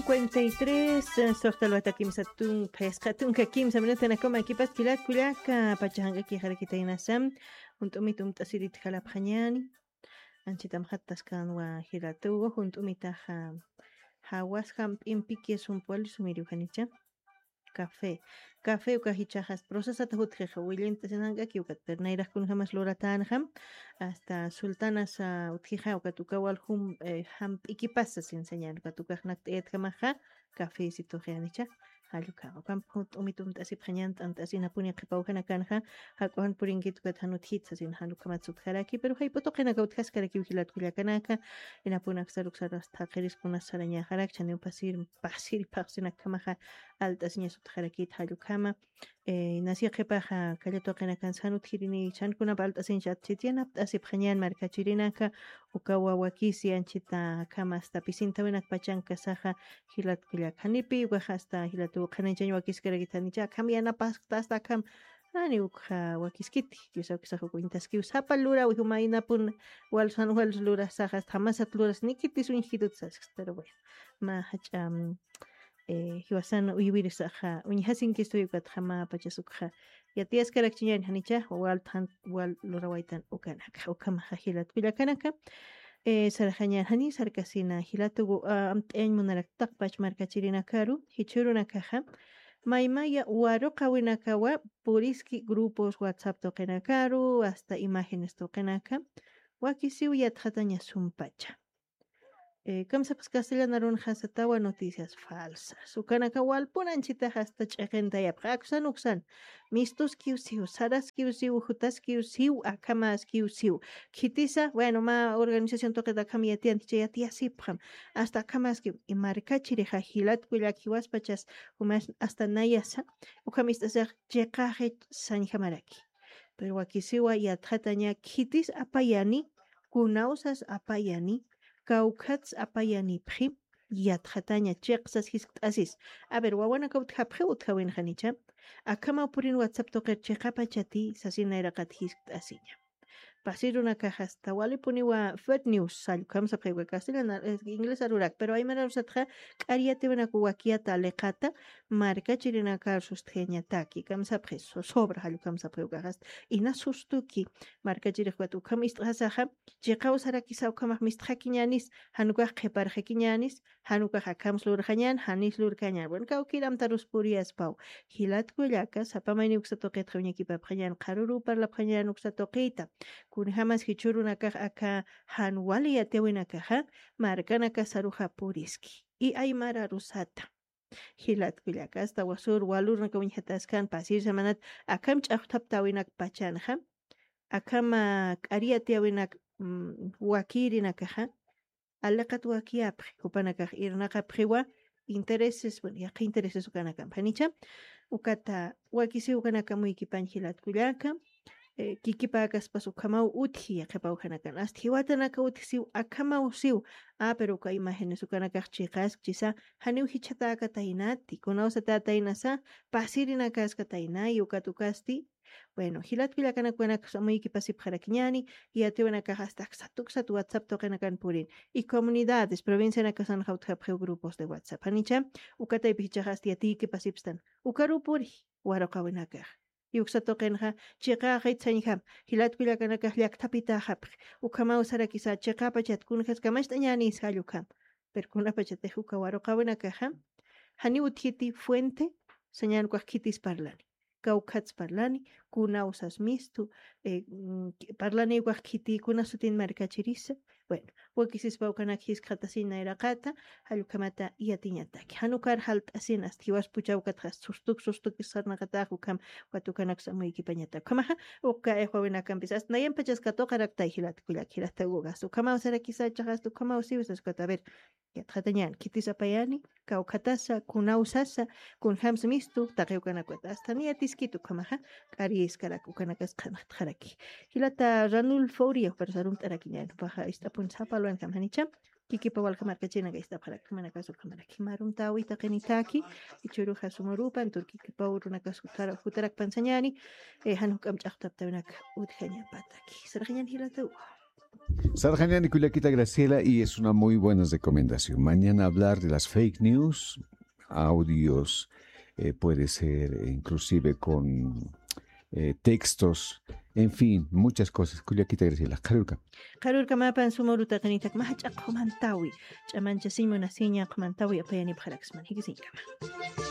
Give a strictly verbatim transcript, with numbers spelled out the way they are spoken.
cincuenta y tres, eh, soxta lwata kimsa tun, phisqa tunka kimsa minutanakama kipas jilat kullaka, pacha janq'aki jarakitaynasa, junt'umit umt'asirit jalapxañäni. Anchitam jattaskanwa jilatuwa, junt'umitaxa jawas jamp'impiki sumpuwal sumiriw janicha. Café. Café uka jichhaxas procesata jutjixa, willint'asin janq'aki ukat, pero nayrax kunjamas luratänxa, hasta sultanasa utjixa ukat uka wal jum, eh, jamp'ikipasa sin señal, ukat ukax nakt'ayatjamaxa, café situxi janicha, jall ukhama. Ukamp junt'umit umt'asipxañan, t'ant'asinapuni qhipa ukhanakanxa, jak'ujan purinkit ukat jan utjitsa sin jall ukhamat sutjaraki, pero jayp'u tuqinaka utjaskarakiw jilat kullakanaka, inapunak saruk saras thaqiris kunas sarañaxarak, chaniw pasir, pasir phaxsinakjamaxa, alt'asiñas utjarakit jall ukhama. Eh, nasi qhipaxa, kalla tuqinakan san utjirini, san kunap alt'asiñas atchit, yanapt'asipxañan markachirinaka, ukawa wakisi anchita akhama hasta pisintawinakpachankasaxa, jilat kullaka. Janipi ukaxa hasta jilatu qhanañchañ wakiskarakit janicha, akham yanapasktasta akham, jani ukxa wakiskiti, Dios awkisax uk uñtaskiw sapa lurawi, jumaynapun wal san wal lurasaxa, hasta jamasat luras, nikitis uñjkitut sasksta, pero bueno, mä jach'a, mm, eh, jiwasan uywirisaxa, uñjasinkistuy ukatxa mä pachas ukxa. Yatiyaskarakchiñan janicha, wal than, wal lurawaytan ukanaka, ukhamaxa jilat kullakanaka. Eh, sarxañan jani, sarkasina jilatuwa, ah, amt'ayañ munarak taqpach markachirinakaru, jichhürunakaxa, maymaya waruqawinakawa puriski grupos WhatsApp tuqinakaru, hasta imágenes tuqinaka, wakisiw yatxataña sumpacha. Eh, kamsapxas castellan arunxa satawa noticias falsas. Ukanaka walpun anchitax hasta ch'iqintayapxa. Aksan uksan. Mistuskiw siw, saraskiw siw, jutaskiw siw, akhamaskiw siw. Khitisa, bueno, mä organización tuqit akham yatiyanti, chay yatiyasipxam. Hasta akhamaskiw. Y markachirixa jilat kullak jiwaspachas, jumas hasta nayasa, ukham ist'asax chiqaxi sañjamaraki. Pero wakisiwa yatxataña khitis apayani, kunawsas apayani, kawkhats apayanipxi, yatxataña chiqsas jiskt'asis. A ver, wawanaka utjapxi, utjawinxanicha. Akhamaw purin WhatsApp tuqir chiqapachati, sasin nayraqat jiskt'asiña. Pasirunakax hasta walipuniwa fake news, sallkam sapxiwa castellana, eh, inglés arurak, pero aymar arusatxa k'ariyatiwinaka wakiyata liqata, markachirinakar sustjañataki, kamsapxi, so-, sobra jallukam sapxiw kaxast, ina sustuki, markachirix ukat ukham ist'xasaxa, chiqaw sarakisa ukhamax mistxakiñänis, jan ukax qhiparxakiñänis, jan ukax akhams lurxañän, janis lurkañän. Bueno, kawkir amtarus puriyaspaw. Jilat kullaka, sapa mayni uksa tuqitxa uñakipapxañän, qharürü parlapxañän uksa tuqita. Kunjamas jichhürunakax aka jan wali yatiyawinakaxa, markanakasaruxa puriski. Y aymar arusata. Jilat kullaka, hasta wasür walürunaka uñjataskan, pasir semanat, akham ch'axthaptäwinak pachanxa, akham, ah, k'ari yatiyäwinak, mm, wakirinakaxa, aliqat wakiyapxi, jupanakax irnaqapxiwa intereses, bueno, yaqha intereses ukanakamp. Janicha, ukata wakisiw ukanaka amuykipañ jilat kullaka, eh, kikipäkaspas ukhamaw utji, yaqhipaw janakan. Hasta jiwatanaka utjisiw, akhamaw siw. Ah, pero uka imágenes ukanakax chiqaskchisa, janiw jichhatäkataynati, kunawsatätaynasa, pasirinakaskataynay, ukat ukasti. Bueno, jilat kullakanaka ukanaksa amuykipasipxarakiñäni, yatiyawinakax hasta aksat uksat WhatsApp tuqinakan purin. Y comunidades, provincianakasanxa utjapxiw grupos de WhatsApp. Janicha, uka taypi jichhax hasta yatiykipasipstan. Ukaruw puri, waruqawinakax. Y uksa tuqinxa, chiqaxit sañjam, jilat kullakanakax llakthapitäxapxi. Ukhamaw sarakisa, chiqapachat kunjaskamacht'añänis jall ukham. Pero kunapachatix uka waruqawinakaxa, janiw utjiti fuente, sañän ukax khitis parlani. Kawkhats parlani, kunawsas mistu, eh, mm, parlani ukax khiti, kuna sutin markachirisa. Bueno, wakisispa ukanak jiskxatasiñ nayraqata, jall ukhamata yatiñataki. Jan ukar jalt'asin, hasta jiwas puchaw ukatxa sustuk, sustuk sarnaqatax ukham, ukat ukanaksa amuykipañata. Ukhamaxa, uka ixwawinakampis, hasta nayampachas katuqaraktay jilat kullak, jilat ukax. Ukhamaw sarakisa, chiqas ukhamaw siw sas ukat, a ver, yatxatañän, khitis apayani, kawkhatasa, kunawsasa, kunjams mistu, taqi ukanakata. Hasta niyatiskit ukhamaxa, k'ariskarak ukanakas qhanxtxaraki. Jilata Ranulfo Uria, juparusa arumt'arakiñän, jupaxa ist'apun sapa luwanakam janicha, kikipa walja markachirinaka ist'apxarak, jumanakasu ukhamaraki. Mä arumtäwi taqinitaki, jichhüruxa suma urupan, turkikipaw urunakas jutara-, jutarakpan sañäni, eh, jan juk'amp ch'axtaptäwinak utjañapataki. Sarxañän jilata uka. Sarxañani kullakita Graciela, y es una muy buena recomendación. Mañana hablar de las fake news, audios, eh, puede ser, eh, inclusive con, eh, textos, en fin, muchas cosas. Kullakita Graciela, qharürkam. Qharürkamapan suma urutaqinitak mä jach'a qhumantawi, ch'amanchasiñ munasiña qhumantawi apayanipxaraksman. Jikisiñkama.